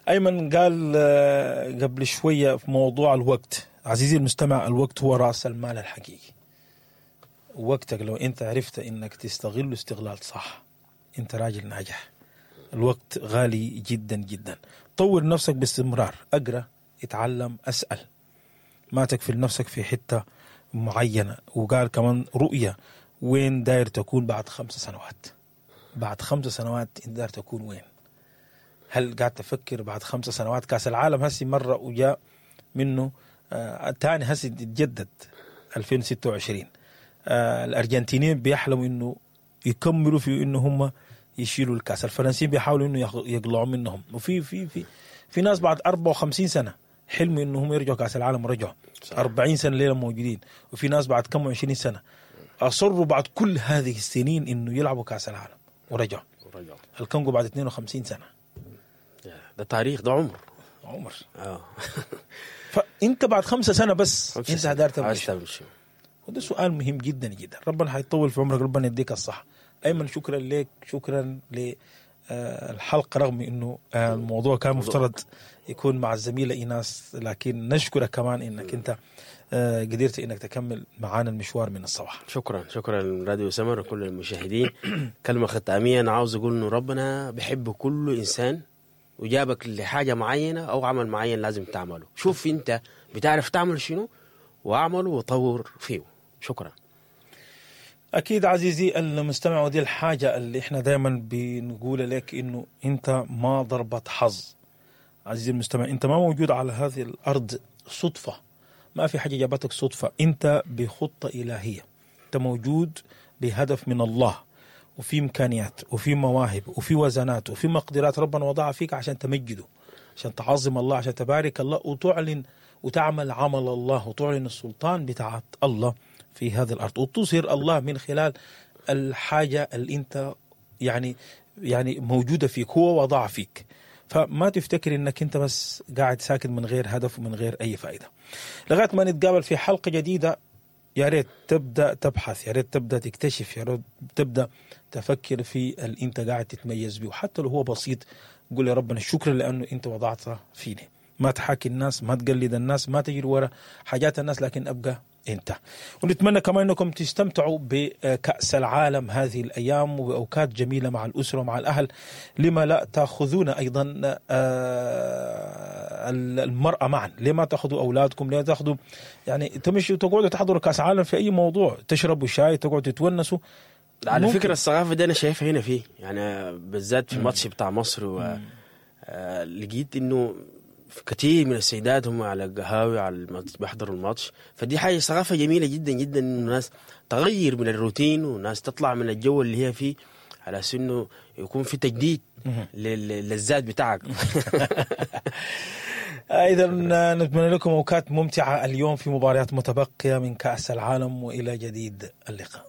ايمن قال آه، قبل شوية في موضوع الوقت. عزيزي المستمع، الوقت هو راس المال الحقيقي. وقتك لو انت عرفت انك تستغله استغلال صح، انت راجل ناجح. الوقت غالي جدا جدا. طور نفسك باستمرار، اقرا، اتعلم، اسال، ما تكفل نفسك في حتة معينة. وقال كمان رؤية، وين داير تكون بعد خمس سنوات؟ بعد خمس سنوات انت داير تكون وين؟ هل قاعد تفكر بعد خمس سنوات؟ كاس العالم هسي مرة وجاء منه آه تاني، هسي تتجدد ألفين وستة وعشرين. آه الأرجنتينيين بيحلموا إنه يكملوا في إنه هم يشيلوا الكاس، الفرنسيين بيحاولوا إنه ياخ- يقلعوا منهم، وفي في في في ناس بعد أربعة وخمسين سنة حلموا إنه هم يرجعوا كاس العالم ورجعوا. أربعين سنة ليلة موجودين، وفي ناس بعد كم وعشرين سنة أصروا بعد كل هذه السنين إنه يلعبوا كاس العالم ورجعوا. ورجعوا. الكونغو بعد اثنين وخمسين سنة. ده تاريخ، ده عمر. عمر. اه فانت بعد خمسة سنة بس خمسة انت سنة. داير تبقى عايز شنو؟ تعمل شنو؟ وده سؤال مهم جدا جدا. ربنا حيطول في عمرك، ربنا يديك الصحة. ايمن شكرا لك، شكرا للحلقة، رغم انه آه، الموضوع كان مفترض يكون مع الزميلة ايناس، لكن نشكرك كمان انك انت آه، قدرت انك تكمل معانا المشوار من الصباح. شكرا، شكرا راديو سمر وكل المشاهدين. كلمة ختامية أنا عاوز أقول إنه ربنا بيحب كل إنسان وجابك لحاجة معينة أو عمل معين لازم تعمله. شوف أنت بتعرف تعمل شنو واعمله وطور فيه. شكرا. أكيد عزيزي المستمع، ودي الحاجة اللي إحنا دايما بنقول لك إنه أنت ما ضربة حظ. عزيزي المستمع، أنت ما موجود على هذه الأرض صدفة، ما في حاجة جابتك صدفة، أنت بخطة إلهية، أنت موجود بهدف من الله، وفي إمكانيات وفي مواهب وفي وزنات وفي مقدرات ربنا وضعها فيك عشان تمجده، عشان تعظم الله، عشان تبارك الله، وتعلن وتعمل عمل الله، وتعلن السلطان بتاعت الله في هذه الأرض، وتظهر الله من خلال الحاجة اللي أنت يعني يعني موجودة فيك، هو وضع فيك. فما تفتكر انك انت بس قاعد ساكت من غير هدف ومن غير اي فائدة. لغاية ما نتقابل في حلقة جديدة، يا ريت تبدا تبحث، يا ريت تبدا تكتشف، يا ريت تبدا تفكر في اللي انت قاعد تتميز به، وحتى لو هو بسيط قول يا ربنا شكرا لانه انت وضعته فيني. ما تحاكي الناس، ما تقلد الناس، ما تجري ورا حاجات الناس، لكن ابقى انت. ونتمنى كمان انكم تستمتعوا بكأس العالم هذه الايام وباوقات جميلة مع الاسرة ومع الاهل. لما لا تاخذون ايضا آه، المراة معا؟ لما تاخذوا اولادكم؟ لما تاخذوا يعني تمشوا تقعدوا تحضروا كاس عالم في اي موضوع، تشربوا شاي، تقعدوا تتونسوا. على ممكن. فكرة الثقافة دي أنا شايفها هنا فيه، يعني بالذات في الماتش بتاع مصر و آه، لقيت إنه في كثير من السيدات هم على القهاوي على الماتش بيحضروا الماتش. فدي حاجة ثقافة جميلة جدا جدا، إنه الناس تغير من الروتين والناس تطلع من الجو اللي هي فيه، على أساس إنه يكون في تجديد لل- للذات بتاعك. اذا نتمنى لكم اوقات ممتعة اليوم في مباريات متبقيه من كاس العالم، والى جديد اللقاء.